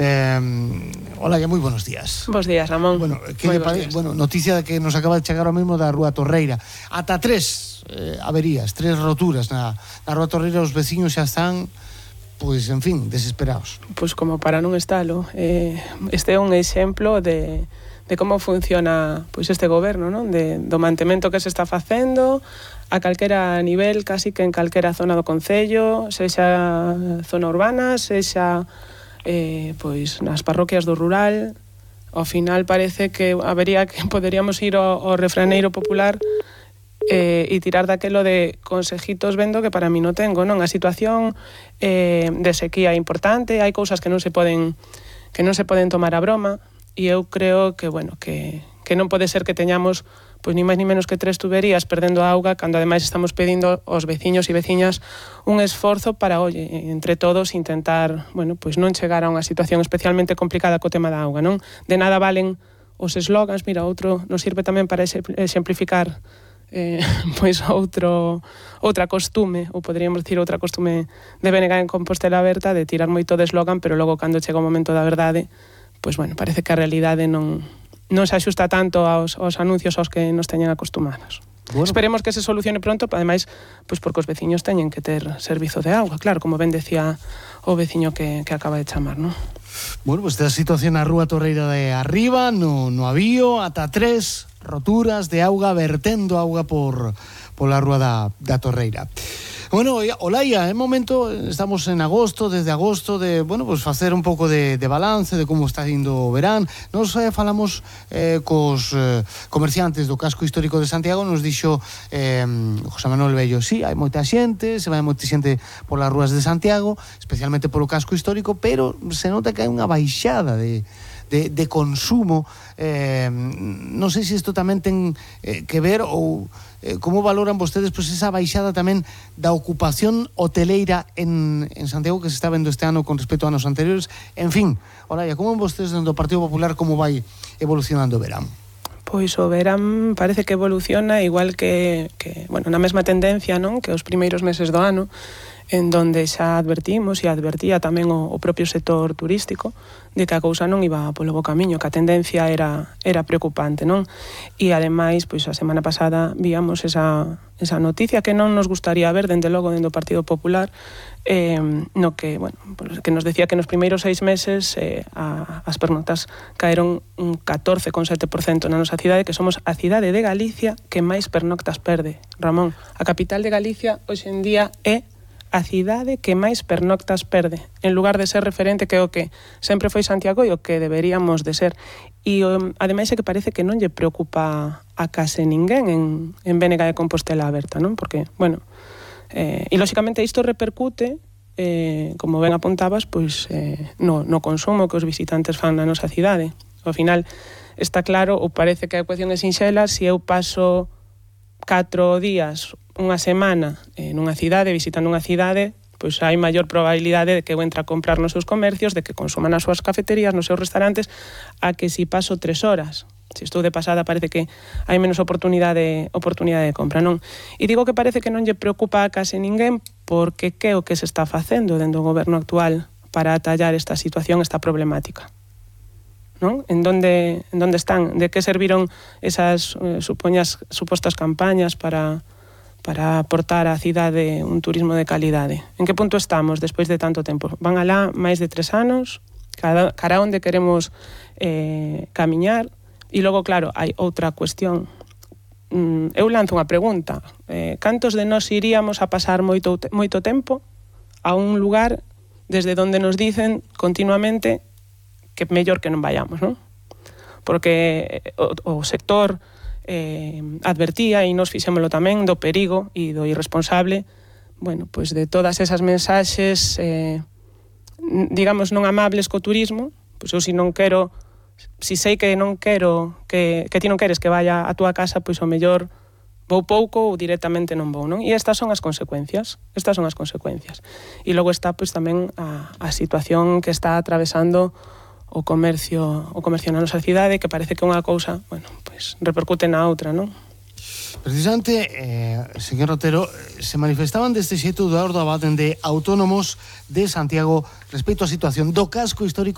Hola, moi buenos días. Bos días, Ramón. Bueno, noticia de que nos acaba de chegar ao mesmo da Rúa Torreira. Ata 3 averías, 3 roturas na Rúa Torreira. Os veciños xa están, pois, en fin, desesperados. Pois como para non estalo. Este é un exemplo de como funciona pois este goberno, non? Do mantemento que se está facendo a calquera nivel, casi que en calquera zona do concello, sexa zona urbana, sexa pois nas parroquias do rural. Ao final parece que poderíamos ir ao refraneiro popular e tirar daquelo de consejitos vendo que para mí non tengo, non? A situación de sequía é importante, hai cousas que non se poden tomar a broma, e eu creo que, bueno, que non pode ser que teñamos pois ni máis ni menos que 3 tuberías perdendo auga, cando ademais estamos pedindo aos veciños e veciñas un esforzo para, entre todos intentar, bueno, pois non chegar a unha situación especialmente complicada co tema da auga, non? De nada valen os eslogans, mira, outro nos sirve tamén para exemplificar pois outra costume, ou poderíamos dicir outra costume de BNG en Compostela Aberta, de tirar moito de eslogan, pero logo cando chega o momento da verdade, pois bueno, parece que a realidade non se axusta tanto aos anuncios aos que nos teñen acostumados. Bueno. Esperemos que se solucione pronto, ademais, pois porque os veciños teñen que ter servizo de auga, claro, como ben decía o veciño que acaba de chamar, non? Bueno, pois esta situación na Rúa Torreira de arriba, no avío, ata 3 roturas de auga, vertendo auga pola Rúa da Torreira. Bueno, Olaia, é momento, estamos en agosto, desde agosto, de, bueno, pues facer un pouco de balance de como está indo o verán. Nos falamos cos comerciantes do casco histórico de Santiago, nos dixo José Manuel Bello, sí, hai moita xente, se vai moita xente polas rúas de Santiago, especialmente polo casco histórico, pero se nota que hai unha baixada de consumo. Non sei se isto tamén ten que ver ou como valoran vostedes pois esa baixada tamén da ocupación hoteleira en Santiago que se está vendo este ano con respecto a anos anteriores. En fin, Olaia, como vostedes dentro do Partido Popular como vai evolucionando o verán? Pois o verán parece que evoluciona igual que bueno, na mesma tendencia, non? Que os primeiros meses do ano, en donde xa advertimos e advertía tamén o propio sector turístico de que a cousa non iba polo bo camiño, que a tendencia era preocupante, non? E ademais, pois a semana pasada víamos esa noticia que non nos gustaría ver dende logo dentro do Partido Popular, no que, bueno, que nos decía que nos primeiros 6 meses as pernoctas caeron un 14,7% na nosa cidade, que somos a cidade de Galicia que máis pernoctas perde. Ramón, a capital de Galicia hoxe en día é a cidade que máis pernoctas perde, en lugar de ser referente que o que sempre foi Santiago e o que deberíamos de ser. E ademais é que parece que non lle preocupa a case ninguén en BNG de Compostela Aberta, non? Porque, bueno, e lóxicamente isto repercute, como ben apuntabas, pois no consumo que os visitantes fan na nosa cidade. Ao final está claro, ou parece que a ecuación é sinxela, se eu paso 4 días, unha semana nunha cidade, visitando unha cidade, pois hai maior probabilidade de que eu entre a comprar nos seus comercios, de que consuma nas súas cafeterías, nos seus restaurantes, a que si paso 3 horas. Se estou de pasada parece que hai menos oportunidade de compra, non? E digo que parece que non lle preocupa a case ninguén porque que é o que se está facendo dentro do goberno actual para atallar esta situación, esta problemática, non? En donde están? De que serviron esas supostas campañas para aportar á cidade un turismo de calidade? En que punto estamos despois de tanto tempo? Van alá máis de 3 anos, cara onde queremos camiñar. E logo, claro, hai outra cuestión. Eu lanzo unha pregunta. Cantos de nós iríamos a pasar moito tempo a un lugar desde onde nos dicen continuamente que mellor que non vayamos, non? Porque o sector advertía e nos fixémolo tamén do perigo e do irresponsable, bueno, pois de todas esas mensaxes digamos non amables co turismo. Pois eu si sei que non quero que ti non queres que vaya a túa casa, pois o mellor vou pouco ou directamente non vou, non? E estas son as consecuencias. E logo está pois tamén a situación que está atravesando o comercio na nosa cidade, que parece que unha cousa, bueno, pois repercute na outra, non? Precisamente, señor Otero, se manifestaban deste xeito Eduardo Abad de Autónomos de Santiago respecto á situación do casco histórico